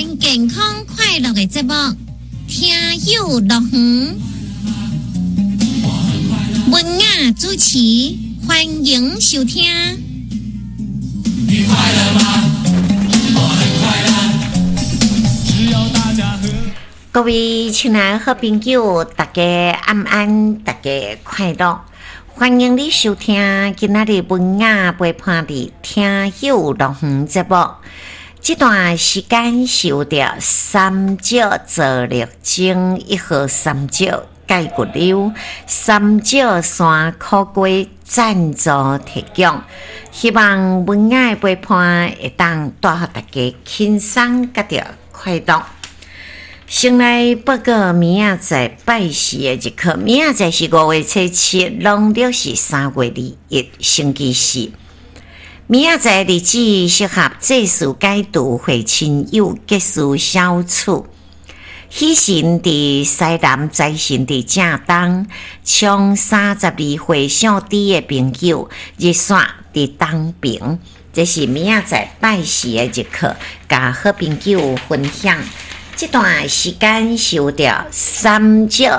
然健康快樂的節目《聽友樂園》，文雅主持，歡迎收聽。你快樂嗎？我很快樂。只要大家和。各位親愛好朋友，大家晚安，大家快樂。歡迎你收聽今仔日文雅陪伴的聽友樂園節目。這段時間是由著三石座力精一號三石蓋骨溜三石山苦瓜贊助提供，希望文雅的陪伴會當帶予大家輕鬆佮著快樂。先來報告明仔載拜四的日課，明仔載是5月初7，農曆是3月21，星期四。明仔載日子適合祭祀解除會親友結事小處。喜神佇西南，財神佇正東，衝32歲姓朱的朋友，日線佇東爿。這是明仔載拜四的日課，共好朋友分享。這段時間是由著三石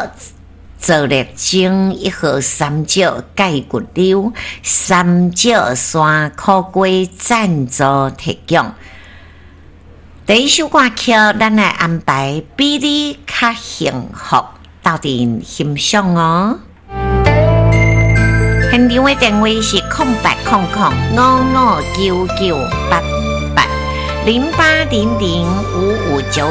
座力精一號三石蓋骨溜三石山苦瓜贊助提供。第一首歌曲，咱來安排比你較幸福，鬥陣欣賞哦。現場的電話是080055998808005599。